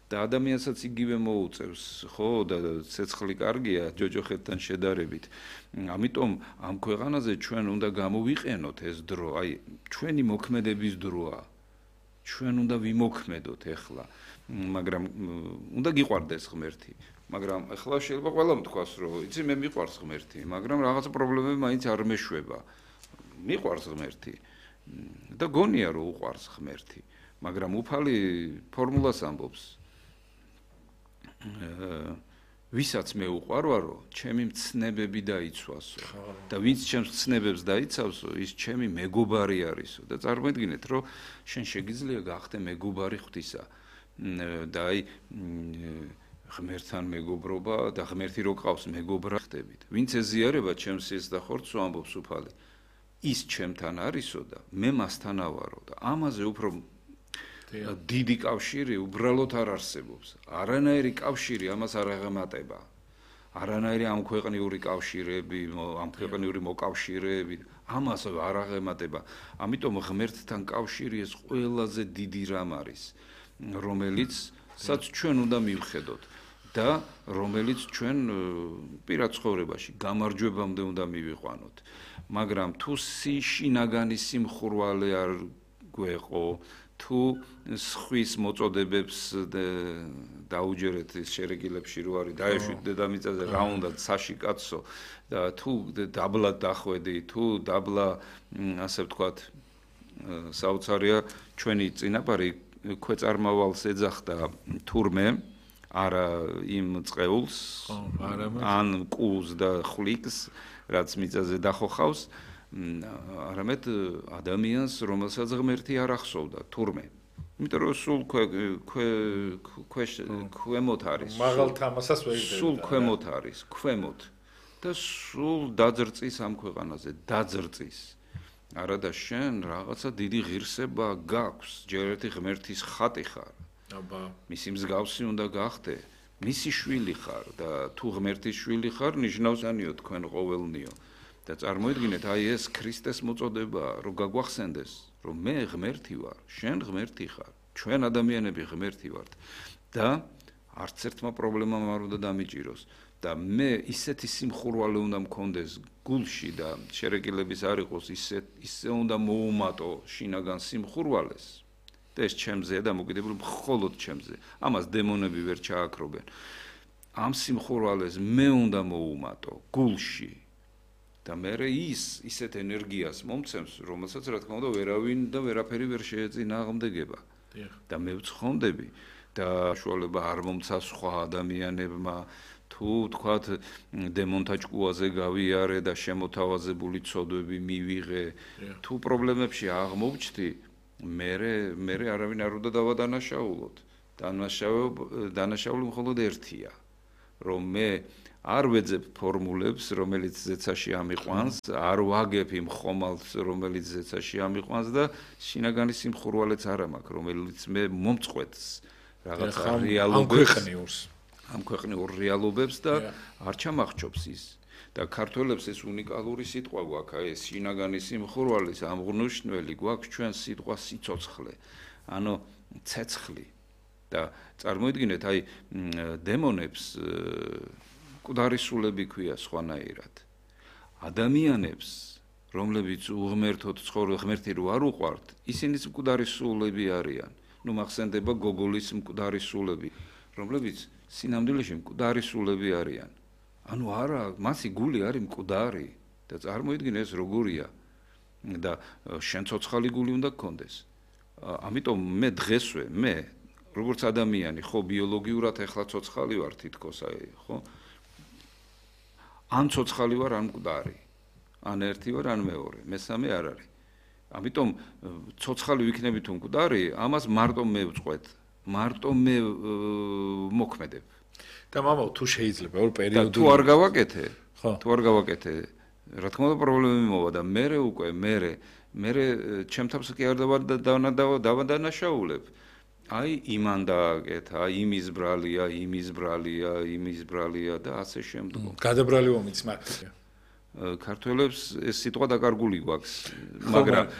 და ადამიანსაც იგივე მოუწევს, ხო, და ცეცხლი კარგია ჯოჯოხეთთან შედარებით. ამიტომ ამ ქვეყანაზე ჩვენ უნდა გამოვიყენოთ ეს დრო, აი, ჩვენი მოქმედების დროა. ჩვენ უნდა ვიმოქმედოთ ახლა, მაგრამ უნდა გიყვარდეს ღმერთი. მაგრამ ახლა შეიძლება ყველამ თქვას, რომ იცი მე მიყვარს ღმერთი, მაგრამ რაღაცა პრობლემები მაინც არ მეშვება. მიყვარს ღმერთი და გონია რომ უყვარს ღმერთი, მაგრამ უფალი ფორმულას ამბობს. ვისაც მე უყვარვარო, ჩემი მცნებები დაიცვასო და ვინც ჩემს მცნებებს დაიცავსო, ის ჩემი მეგობარი არისო და წარმოიდგინეთ, რომ შენ შეგიძლია გახდე მეგობარი ღვთისა და აი ღმერთთან მეგობრობა და ღმერთი რო ყავს მეგობრად ხდებით. ვინც ეზიარება ჩემს სიეს და ხორცს ამბობს უფალი. ის ჩემთან არისო და მე მასთან ავარო და ამაზე უფრო დიდი კავშირი უბრალოდ არ არსებობს. არანაირი კავშირი ამას არ აღემატება. არანაირი ამ ქვეყნიური კავშირები, ამ ქვეყნიური მოკავშირეები ამას არ აღემატება. ამიტომ ღმერთთან კავშირი ეს ყველაზე დიდი რამ არის, რომელიცაც ჩვენ უნდა მივხედოთ და რომელიც ჩვენ პირად ცხოვრებაში გამარჯვებამდე უნდა მივიყვანოთ. მაგრამ თუ შინაგანი სიმხურვალე არ გვეყო, თუ სხვის მოწოდებებს დაუჯერეთ ის შერეგილებში რო არის დაეშვით დედამიწაზე რა უნდა საში კაცო და თუ დაბლა დახვედი, თუ დაბლა ასე ვთქვათ საოცარია ჩვენი წინაპარი ქვეწარმავალს ეძახდა თურმე არა იმ წყეულს ან კუს და ხვლიკს რაც მიწაზე დახოხავს არამედ ადამიანს რომელსაც ღმერთი არ ახსოვდა თურმე იმიტომ რომ სულ ქვემოთ არის მაღალ თამასას ვერ იდედა სულ ქვემოთ არის ქვემოთ და სულ დაძრწის ამ ქვეყანაზე დაძრწის არადა შენ რაღაცა დიდი ღირსება გაქვს ჯერ ერთი ღმერთის ხატი ხარ აბა მისი მსგავსი უნდა გახდე მისი შვილი ხარ და თუ ღმერთის შვილი ხარ ნიშნავს ანიო თქვენ ყოველნიო და წარმოიდგინეთ აი ეს ქრისტეს მოწოდებაა რომ გაგვახსენდეს რომ მე ღმერთი ვარ შენ ღმერთი ხარ ჩვენ ადამიანები ღმერთი ვართ და არც ერთმა პრობლემამ არ უნდა დამიჭიროს და მე ისეთი სიმხურვალე უნდა მქონდეს გულში და შერეკილების არ იყოს ისე უნდა მოუმატო შინაგან სიმხურვალეს და ეს ჩემზეა დამოკიდებული მხოლოდ ჩემზე ამას დემონები ვერ ჩააქრობენ ამ სიმხურვალეს მე უნდა მოუმატო გულში და მე ისეთ ენერგიას მომცემს რომელსაც რა თქმა უნდა ვერავინ და ვერაფერი ვერ შეეწინააღმდეგება და მე ვცხონდები და შუალება არ მომცა სხვა ადამიანებმა თუ თქვათ დემონთა ჭკუაზე გავიარე და შემოთავაზებული ცოდვები მივიღე თუ პრობლემებში აღმოვჩდი მე არავინ არ უნდა დავადანაშაულოთ დანაშაული მხოლოდ ერთია რომ მე არ ვეძებ ფორმულებს რომელიც ზეცაში ამიყვანს არ ვაგებ იმ ხომალდს რომელიც ზეცაში ამიყვანს და შინაგანი სიმხურვალეც არ მაქვს რომელიც მე მომწყვეტს რაღაცა რეალობებს ამ ქვეყნიურ რეალობებს და არ ჩამახჩობს ის და ქართველებს ეს უნიკალური სიტყვა გვაქვს ეს შინაგანი სიმხურვალის ამღრნუშნელი გვაქვს ჩვენ სიტყვა სიცოცხლე ანუ ცეცხლი და წარმოიდგინეთ აი დემონებს მკვდარი სულები ქვია სხვანაირად ადამიანებს რომლებიც უღმერთოდ ცხოვრობენ ღმერთი რო არ უყვართ ისინიც მკვდარი სულები არიან ნუ მახსენდება გოგოლის მკვდარი სულები რომლებიც სინამდვილეში მკვდარი სულები არიან ანუ არა მასი გული არის მკვდარი და წარმოიდგინე ეს როგორია და შენ ცოცხალი გული უნდა გქონდეს ამიტომ მე დღესვე მე როგორც ადამიანი ხო ბიოლოგიურად ეხლა ცოცხალი ვარ თითქოს აი ხო ან ცოცხალი ვარ ან მკვდარი ან ერთი ვარ ან მეორე მესამე არ არის ამიტომ ცოცხალი ვიქნები თუ მკვდარი ამას მარტო მე ვწყვეტ მარტო მე მოქმედებ და მამაო თუ შეიძლება ორ პერიოდული თუ არ გავაკეთე თუ არ გავაკეთე რა თქმა უნდა პრობლემები მოვა და მე უკვე მე ჩემთავს კი არ დავადანაშაულებ აი იმან დააკეთა იმის ბრალია და ასე შემდგომ გადაბრალი ომიც მართლია ქართველებს ეს სიტყვა დაკარგული გვაქვს მაგრამ